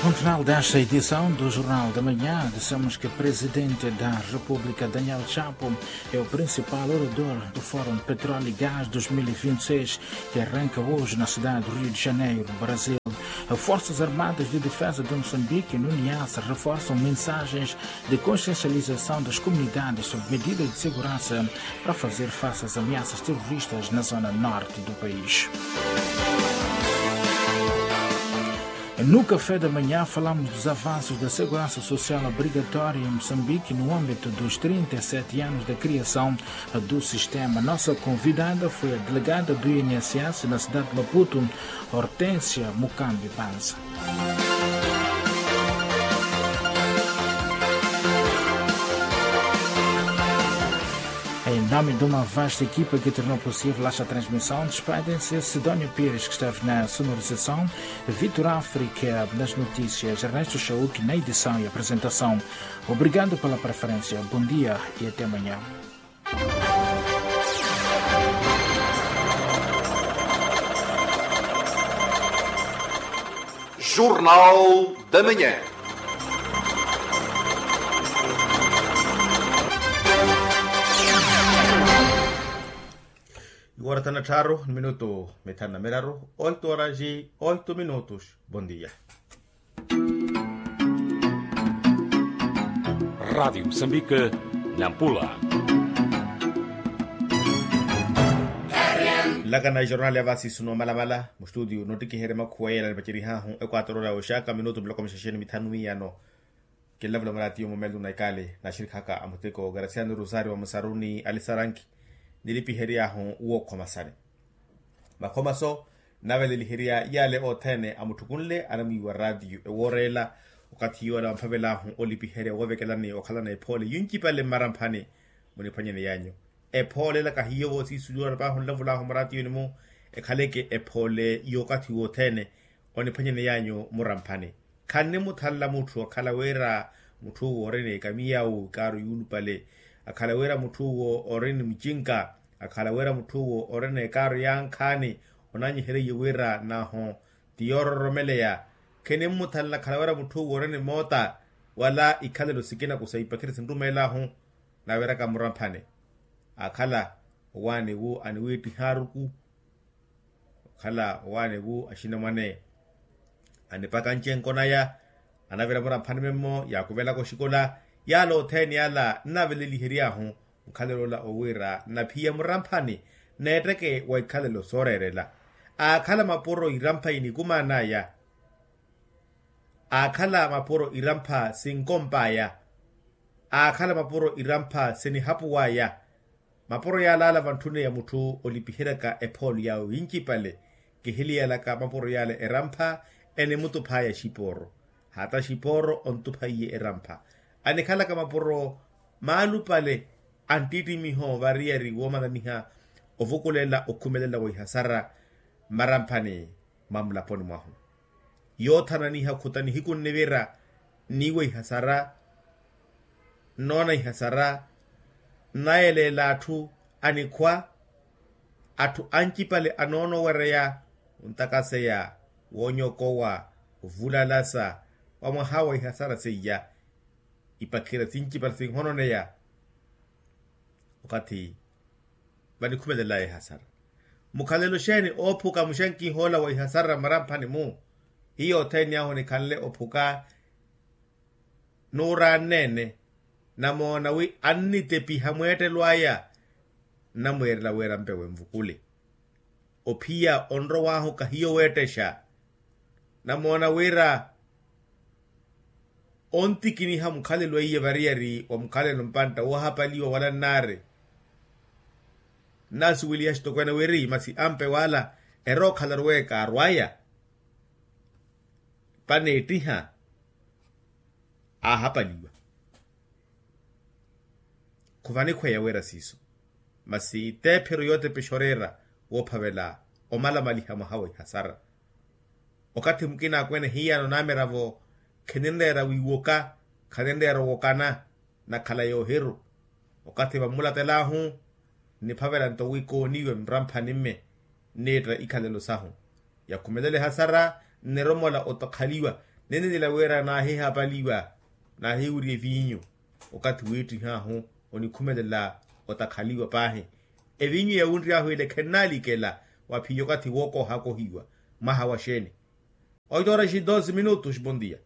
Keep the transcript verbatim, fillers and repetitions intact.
Ponto final desta edição do Jornal da Manhã. Dissemos que o presidente da República, Daniel Chapo, é o principal orador do Fórum Petróleo e Gás dois mil e vinte e seis, que arranca hoje na cidade do Rio de Janeiro, no Brasil. Forças Armadas de Defesa de Moçambique, no Niassa, reforçam mensagens de consciencialização das comunidades sobre medidas de segurança para fazer face às ameaças terroristas na zona norte do país. No Café da Manhã, falamos dos avanços da segurança social obrigatória em Moçambique no âmbito dos trinta e sete anos da criação do sistema. Nossa convidada foi a delegada do I N S S na cidade de Maputo, Hortência Mukambi Panza. Em nome de uma vasta equipa que tornou possível esta transmissão, despedem-se Sidónio Pires, que esteve na sonorização, Vitor África nas notícias, Ernesto Chauk na edição e apresentação. Obrigado pela preferência, bom dia e até amanhã. Jornal da Manhã. Iwora thanu na tthaaru ni minutu mithanu na miraru, oito horas e oito minutos. Bom dia. Rádio Moçambique, Nampula. Nlakana ejornali ya vasisu no malamala mustudio nottikiherya makhuwa yeela nipacerihahu ekwatorora ya oxaka minutu miloko mixaxeni mithanu miyano. Kinlavula muraatiyo mumelu na ikali naxirikhaka amuteko garasiano rosario wa musaruni alisaranki nilipiheryaahu wookhomasani. Makhomaso naveleliherya yaale othene amutthukunle anamwiiwa raatiyo ewooreela. Okathi yoola wamphavelaahu olipiherya woovekelani okhalana ephoole yuncipale mmaramphani muniphwanyeni yaanyu. Ephoole ela kahiyo voosiisuliwa napaahu nlavulahu muraatiyoni-mu ekhaleke ephoole y'okathi wothene oniphwanyeni yaanyu muramphani. Khannimuthanla mutthu akhala wira mutthu owo orina ekamiyawu ikaaru yuulupale, akhala wira mutthu owo orina mucinka, akhala wira mutthu owo orina ekaaru ya nkhaani onanyihereiye wira nahu ti yoororomeleya. Khinimmuthanla akhala wira mutthu owo orina emoota wala ikhalelo sikina kusa ipakhire sinrumeelaahu naviraka muramphani. Akhala owaani wu aniwiittiha aruku, okhala owaani wu axinamwane anipaka ncenko naya anavira muramphani memmo yaakuvelaka oxikola. Yaala othene ala nnaveleliheryaahu mukhalelo ola owiira nnaphiya muramphani neetteke wa ikhalelo sooreerela. Aakhala mapuro irampha inikumaan'aya, aakhala mapuro irampha sinkomp'aya, aakhala mapuro irampha sinihapuw'aya. Mapuro yaalaala vantthuneya mutthu olipiheryaka ephoolo yaawe yincipale. Kihiliyalaka mapuro yaala erampha enimutuph'aya xipooro, hata xipooro ontuphaiye erampha. Anikhalaka mapuro maalupale anttittimiho variyari woomananiha ovukulela okhumelela wa ihasara mmaramphani mwa mulaponi mwahu. Yoothananiha okhuta nihiku nnivira nniiwa ihasara, nnoona ihasara, nnayeleela atthu anikhwa, atthu ancipale anoona owereya, ontakaseya, woonyokowa, ovulalasa wa mwaha wa ihasara seiya. Ipakhira sincipale sinhononeya okathi vanikhumelel'aya ehasara. Mukhalelo xeeni oophuka muxenkih'ola wa ihasara mmaramphani-mu? Hiyo othene ahu nikhanle ophuka nuuraanneene. Namoona wi annitepiha mweettelo aya nnamweerela wira mpewe nvukule. Ophiya onrow'ahu kahiyo weettexa. Namoona wira ontikiniha mukhalelo eiye variyari wa mukhalelo mpantta woohapaliwa wala nnaari. Nnaasuweliha xitokweene wiri masi ampe wala erookhala aruweeka arw'aya paneettiha aahapaliwa. Khuvanikhweya wira siiso masi teephiro yootepexa oreera woophavela omalamaliha mwaha wa ihasara. Okathi mukina akweene hiyano namiravo kheninreera wiiwoka, khaninreera owokana nakhala yoohiru. Okathi vammulatel'ahu nniphavela nto wi kooniwe mramphani-mme nniitta ikhalelo sahu. Yakhumelela ehasara nniromola otakhaliwa. Ninenela wira naahihaapaliwa, naahiwirya eviinyu. Okathi wiittih'ahu onikhumelela otakhaliwa paahi. Eviinyu yawunry'ahu ele khennalikela wa phiya okathi wookohakohiwa. Mwaha wa xeeni? Oito horas e doze minutos bondia.